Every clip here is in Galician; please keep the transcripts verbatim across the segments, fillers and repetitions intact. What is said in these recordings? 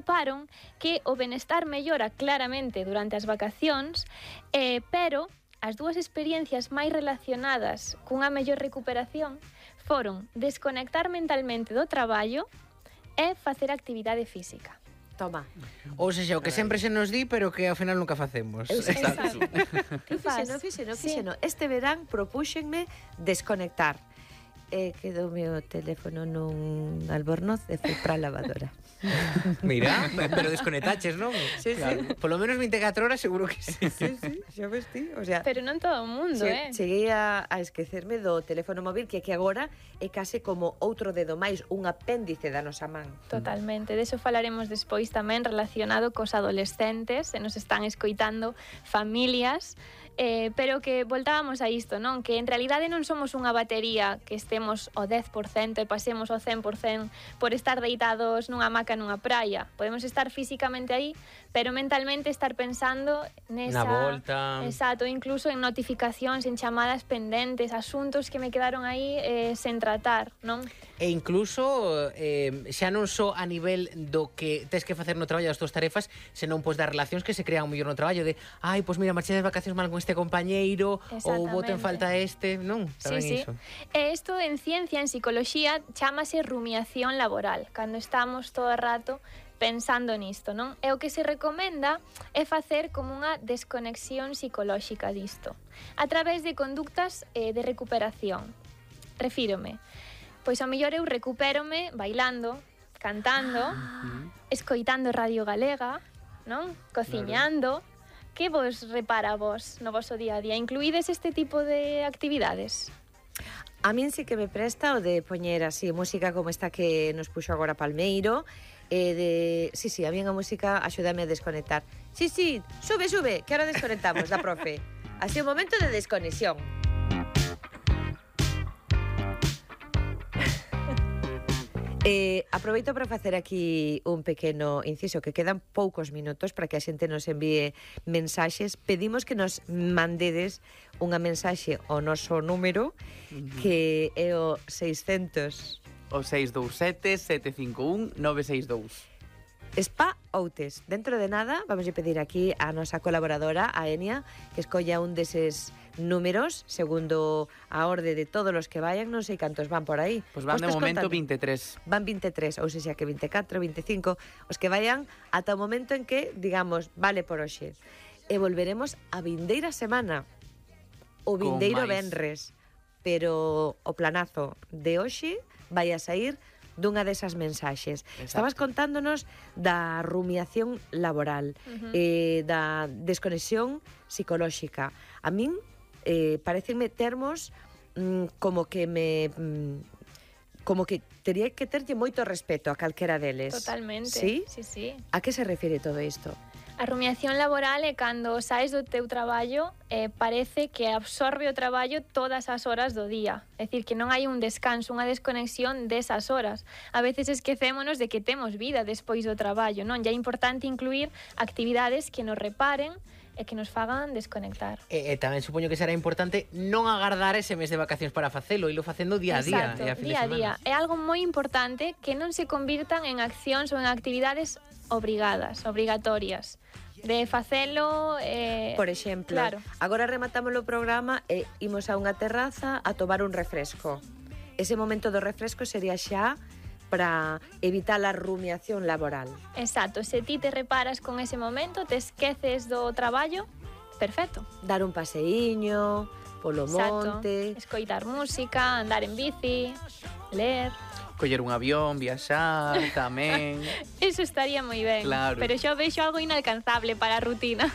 atoparon que o benestar mellora claramente durante as vacacións, eh, pero as dúas experiencias máis relacionadas cunha mellor recuperación foron desconectar mentalmente do traballo e facer actividade física. Toma. Ou seja, o que sempre se nos di, pero que ao final nunca facemos. Exacto. Fíxeno, fíxeno, fíxeno. Este verán propúxenme desconectar. E quedou o teléfono nun albornoz e foi para a lavadora. Mira, pero desconectaches, non? Sí, claro. Sí. Por lo menos veinticuatro horas seguro que sí. Sí, sí, xa ves ti. O sea, Pero non todo o mundo, che, eh? cheguei a, a esquecerme do teléfono móvil, que que agora é case como outro dedo máis, un apéndice da nosa man. Totalmente, de eso falaremos despois tamén relacionado cos adolescentes, e nos están escoitando familias, eh, pero que voltábamos a isto, non? Que en realidade non somos unha batería que estemos ao dez por cento e pasemos ao cen por cento por estar deitados nunha hamaca nunha praia. Podemos estar físicamente aí, pero mentalmente estar pensando nesa... Na volta. Exacto, incluso en notificacións, en chamadas pendentes, asuntos que me quedaron aí eh, sen tratar, non? E incluso eh, xa non só a nivel do que tes que facer no traballo das túas tarefas, senón pois das relacións que se crean mellor no traballo, de ai, pois mira, marchei das vacacións mal con este compañeiro, ou boto en falta este, non? Tamén sí, sí. iso. E isto en ciencia, en psicoloxía, chámase rumiación laboral, cando estamos todo o rato pensando nisto, non? E o que se recomenda é facer como unha desconexión psicolóxica disto, a través de conductas eh, de recuperación. Refírome, pois ao mellor eu recupérome bailando, cantando, ah. escoitando Radio Galega, non? Cociñando. Claro. Que vos repara vos no voso día a día? Incluídes este tipo de actividades? A min sí que me presta o de poñer así música como esta que nos puxo agora Palmeiro, e de... Sí, sí, a mí a música axúdame a desconectar. Sí, sí, sube, sube, que ahora desconectamos da profe. Así un momento de desconexión. Eh, aproveito para facer aquí un pequeno inciso, que quedan poucos minutos para que a xente nos envíe mensaxes. Pedimos que nos mandedes unha mensaxe ao noso número, uh-huh. que é o seiscentos... O seis dous sete, sete cinco un, nove seis dous. Spa Outes. Dentro de nada, vamos a pedir aquí a nosa colaboradora, a Enia, que escolla un deses números, segundo a orde de todos os que vayan, non sei cantos van por aí. Pois pues van de momento contando? veintitrés. Van veintitrés, ou seja que veinticuatro, veinticinco, os que vayan ata o momento en que, digamos, vale por hoxe. E volveremos a vindeira semana, o vindeiro venres, pero o planazo de hoxe vai a sair dunha desas mensaxes. Exacto. Estabas contándonos da rumiación laboral, uh-huh. eh, da desconexión psicolóxica. A min eh, parecenme termos mm, como que me... Mm, como que tería que terlle moito respeto a calquera deles. Totalmente. Sí? Sí, sí. A que se refire todo isto? A rumiación laboral é cando saes do teu traballo e eh, parece que absorbe o traballo todas as horas do día. É dicir, que non hai un descanso, unha desconexión desas horas. A veces esquecémonos de que temos vida despois do traballo, non? E é importante incluir actividades que nos reparen e que nos fagan desconectar. E, e tamén supoño que será importante non agardar ese mes de vacacións para facelo, ilo facendo día a día. Exacto, e a fin día a de día. É algo moi importante que non se convirtan en accións ou en actividades obrigadas, obrigatorias. De facelo... Eh, Por exemplo, claro. Agora rematamos o programa e imos a unha terraza a tomar un refresco. Ese momento do refresco sería xa para evitar a rumiación laboral. Exacto, se ti te reparas con ese momento, te esqueces do traballo, perfecto. Dar un paseíño polo Exacto. monte, escoitar música, andar en bici, ler... Coller un avión, viaxar, tamén. Eso estaría moi ben, claro. Pero xa vexo algo inalcanzable para a rutina.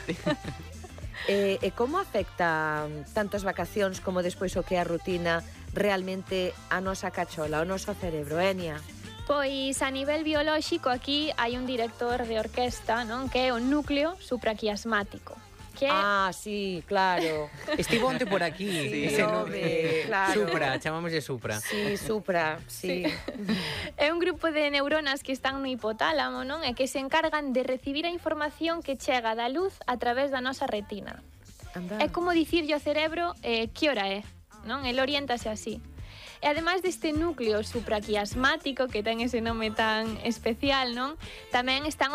e, e como afecta tanto as vacacións como despois o que é a rutina realmente a nosa cachola, o noso cerebro, Enia? Pois a nivel biolóxico aquí hai un director de orquesta, non? Que é o núcleo supraquiasmático. Que... Ah, sí, claro. Estivo onte por aquí. Sí, ese no, nome, eh, claro. Supra, chamámoslle Supra. Sí, Supra, sí. sí. É un grupo de neuronas que están no hipotálamo, non? E que se encargan de recibir a información que chega da luz a través da nosa retina. Anda. É como dicirlle ao cerebro eh, que hora é, non? El oriéntase así. E ademais deste núcleo supraquiasmático que ten ese nome tan especial, non? Tamén están